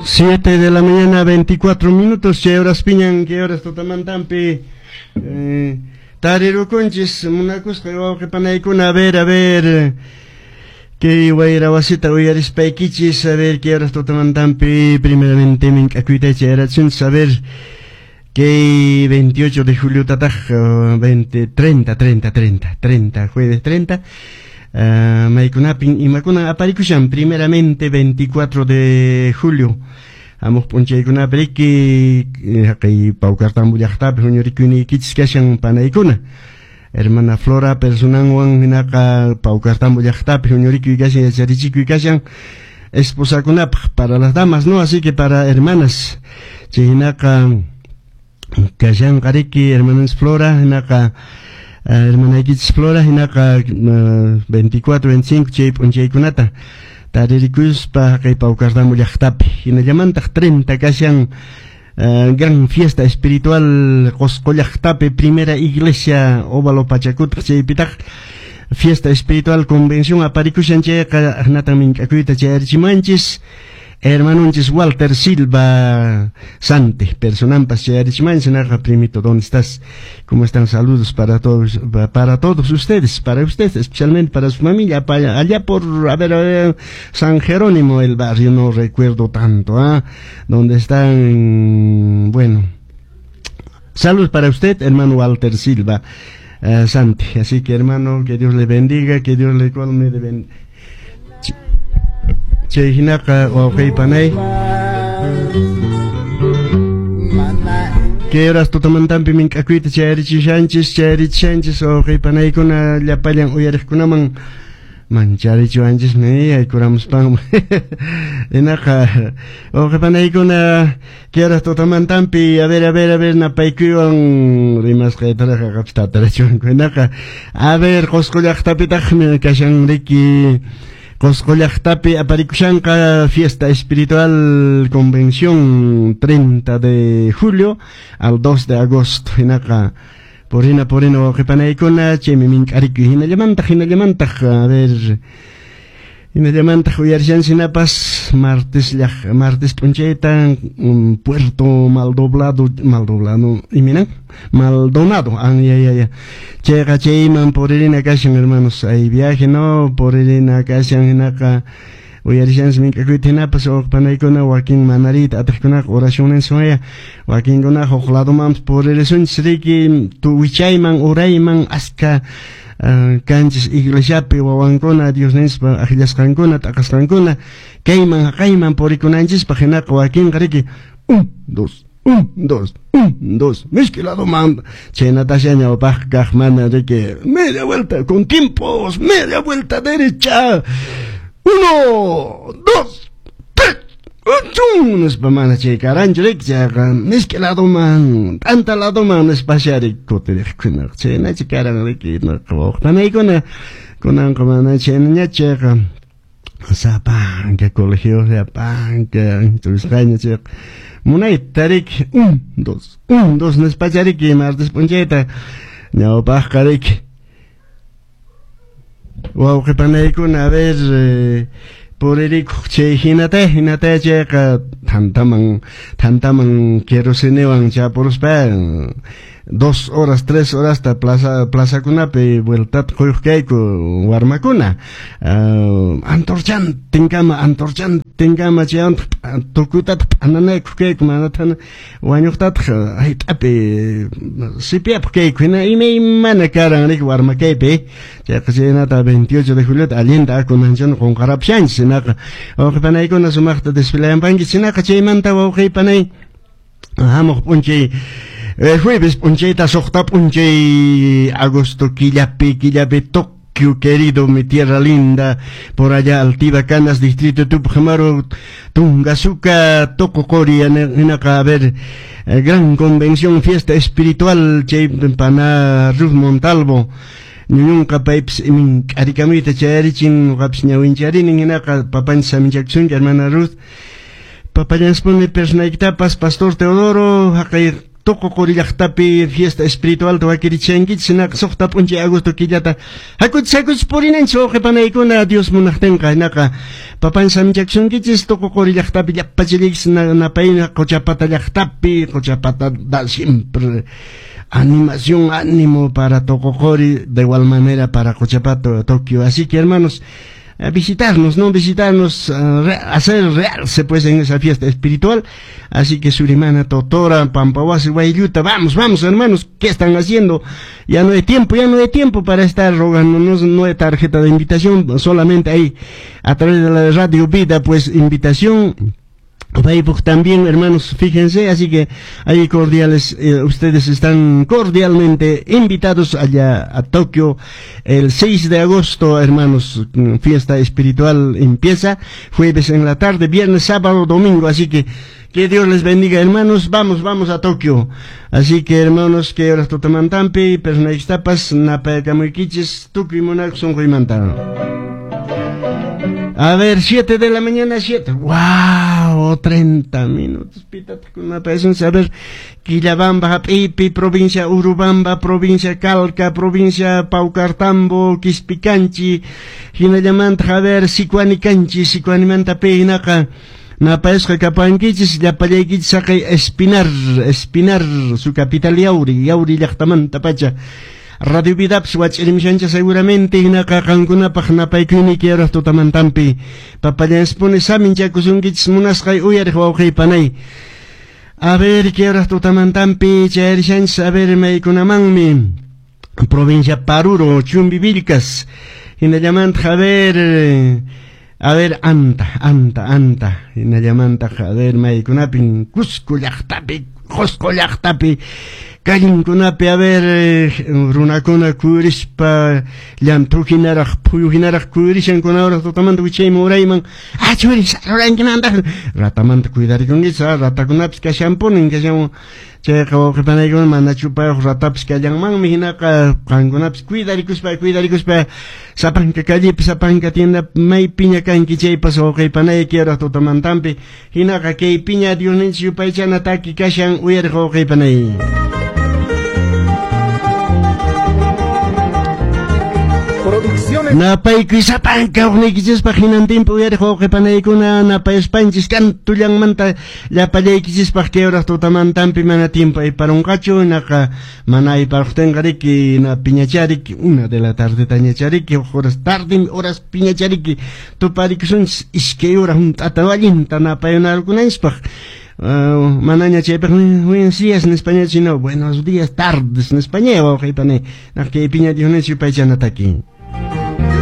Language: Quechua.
7 de la mañana, 24 minutos, chay horaspiñan, kay horas tutamantampi tarirukunchis munakusqa wawqi panaykuna, a ver, kay wayra wasita uyarispaykichis, a ver, kay horas tutamantampi primeramente mink'akuyta chayarachisunchis, a ver, kay 28 de julio tataq, 20, 30, 30, 30, 30, jueves 30, maykunapin imakunan aparikushan. Primeramente, 24 de julio, hamuq p'unchaykunapi riki, haqay Paucartambo llaqtapi huñurikuynikichis kashan, panaykuna, hermana Flora personanwan, hinaqa Paucartambo llaqtapi huñurikuy kashan, yacharichikuy kashan esposakunapaq, para las damas, ¿no? Así que para hermanas, chay hinaqa kashanqa riki hermanas Flora, hinaqa hermanaykichis Flora, hinaqa 24, 25 chay p'unchaykunata taririkuspa haqay Paucartambo llaqtapi. Hinallamantaq 30 kashan gran fiesta espiritual Qosqo llaqtapi, primera iglesia Óvalo Pachacútec, chaypitaq fiesta espiritual convención aparikushan, chayqa hinatan mink'akuyta chayarichimanchis hermanonchis Walter Silva Sante, personampas chayarichimanchis. Hinaqa, primito, ¿dónde estás? ¿Cómo están? Saludos para todos ustedes, para ustedes, especialmente para su familia, para allá por, a ver, San Jerónimo, el barrio, no recuerdo tanto, ¿ah? Donde están, bueno, saludos para usted, hermano Walter Silva Santi. Así que, hermano, que Dios le bendiga, que Dios le colme de ben. Chay hinaqa wawqi panay, kay horas tutamantampi mink'akuyta chayarichishanchis, chayarichishanchis wawqi panaykuna, llapallan uyariqkunaman mancharichiwanchismi yaykuramuspan. Hinaqa wawqi panaykuna, kay horas tutamantampi, a ver, a ver, a ver, napaykuywan rimasqaytaraq qapis tatarachiwanku. Hinaqa, a ver, Qosqo llaqtapitaqmi kashan riki, Qosqo llaqtapi aparikushanqa fiesta espiritual convención 30 de julio al 2 de agosto. Hinaqa purina, purina, wawqi panaykuna, chaymi mink'arikuy. Hinallamantaq, hinallamantaq, a ver, hinallamantaq uyarishanchis hinapas martes llaq, martes p'unchayta Puerto Maldoblado, Maldoblado, iminan Maldonado, ah, ya, ya, ya, chayqa chayman puririna kashan, hermanos, hay viaje, no, puririna kashan. Hinaqa uyarishanchis mink'akuyta hinapas wawqi panaykuna, wakin manariyta atiqkunaqa oracionninchis, wakinkunaqa huk ladomanpas puririsunchis riki, wichayman, urayman, aska kanchis iglesiapi wawankuna, Diosninchispa akllasqankuna, t'aqasqankuna, kayman haqayman purikunanchispaq. Hinaqa wakinqa riki 1, 2, 1, 2, 1, 2, mishki ladoman, chaynatasha ñawpaq kaq mana riki media vuelta con tiempos, media vuelta derecha, 1, 2, 3, chun nispa, mana chay karanchu riki, chayqa mishki ladoman, t'anta ladoman nispasha riki kutiriqkunaqa, chaynachi karan riki. Wawqi kunanqa mana chaynañachu, chayqa sapanka colegio, sapanka instruisqaña, chayqa munayta riki 1, 2, 1, 2 nispacha riki martes p'unchayta ñawpaqqa riki. Wawqi panaykuna, a ver, puririkuq chay hinata, hinata, chayqa thantaman, thantaman querosenewan chapuruspa 2 horas, 3 horasta plaza, plazakunapi vueltata quyuq kayku warmakuna, antorchantinkama, antorchantinkama, chaywantaq tukuytataq p'ananaykuq kayku, manataq wañuqtataq hayt'api sipiapuq kayku. Hina imaymana karan riki warma kaypi. Chayqa chaynata 28 de juliota allinta kunanchana qunqarapushanchis. Hinaqa wawqi panaykuna, sumaqta desfilayanpankichis. Hinaqa chaymanta, wawqi panay, hamuq p'unchay jueves p'unchayta, 6 p'unchay agosto killapi, killapi, Tokio querido, mi tierra linda, por allá Altiva Canas, distrito Tupac Amaru, Tungasuca, Toco-Cori, hinaqa, a ver, gran convención, fiesta espiritual, chay pana Ruth Montalvo ñuñunqa, paypis mink'arikamuyta chayarichin, ñuqapis ñawincharini. Hinaqa papanchis saminchakusunki, hermana Ruth, papallaspuni personaykitapas, pastor Teodoro, haqay. Tuqu llaqtapi fiesta espiritual wakirichankichis hinaqa suqta p'unchay agosto killata hakuchis hakuchis purinanchis wawqipanaykuna Dios munaqtinqa hinaqa papan samchakusunkichis Tuqu llaqtapi llapachallaykichis napayna Qochapata llaqtapi Qochapata da siempre animación, ánimo para Tocoqori, de igual manera para Cochapato, Tokio. Así que hermanos, visitarnos, ¿no? Visitarnos, hacer realce pues en esa fiesta espiritual. Así que Surimana, Totora, Pampawasi, Guayluta, vamos, vamos hermanos, ¿qué están haciendo? Ya no hay tiempo, ya no hay tiempo para estar rogándonos, no hay tarjeta de invitación, solamente ahí a través de la Radio Vida, pues invitación. Facebook también, hermanos, fíjense, así que ahí cordiales, ustedes están cordialmente invitados allá a Tokio el 6 de agosto, hermanos, fiesta espiritual empieza, jueves en la tarde, viernes, sábado, domingo, así que Dios les bendiga, hermanos, vamos, vamos a Tokio. Así que, hermanos, que horas tutamantampi, personaxtapas, napayakamuikichis, tukuy munak sunquymanta. A ver, 7 de la mañana, 7. ¡Wow! 30 minutos. A ver, Quillabamba, Pipi, provincia Urubamba, provincia Calca, provincia Paucartambo, Quispicanchi, Hinallamanta, a ver, Sicuanicanchi, Sicuanimanta, Peinaca. Napayasqa kapankichis, llapallaykichis saqay Espinar, Espinar, su capital Yauri, Yauri llaqtamanta pacha. Radio Vidaps wach'irimishancha seguramente hinaqa qankunapaq napaykuyni yaraq tutamantampi papallaspuni saminchakusunkichis munasqay uyariq wawqiypanay. A ver qué horas tutamantampi chayarishanchis, a ver maykunamanmi provincia Paruro, Chumbivilcas, hinallamantaq a ver Anta, Anta, Anta, hinallamantaq a ver maykunapin Cusco llaqtapi, Qosqo llaqtapi kallinkunapi, a ver, runakuna kurispa llamthu hinaraq phuyu hinaraq kurishankuna hora tutamanta wichayman urayman achuri sarurankinantaq ratamanta cuidarikunkichis, ratakunapis kashanpunin kashan chayqa wawqipanaykuna mana chupayuq ratapis kallanmanmi hinaqa qankunapis cuidarikuspa cuidarikuspa sapanka callepi sapanka tienda maypiña kanki chaypas wawqipanayki hora tutamantampi hinaqa kaypiña Diosninchis yupaychana taki kashan uyariq wawqipanay. Napaykuy sapanka uqniykichispaq hinantinpi uyariq wawqipanaykuna napayaspanchis kantullanmanta llapallaykichispaq kay hora tutamantampi mana tiempo ayparunqachu hinaqa mana ayparuqtinqa riki na piñachariki 1 de la tarde tañachariki huk horas tarde horas piñachariki tuparikusunchis iskay hora hunt'ata allinta napayunarkunanchispaq. Manaña chaypaq buenos días en español, sino buenos días tardes en español wawqipanay naq kay piña Diosninchis yupaychana taki.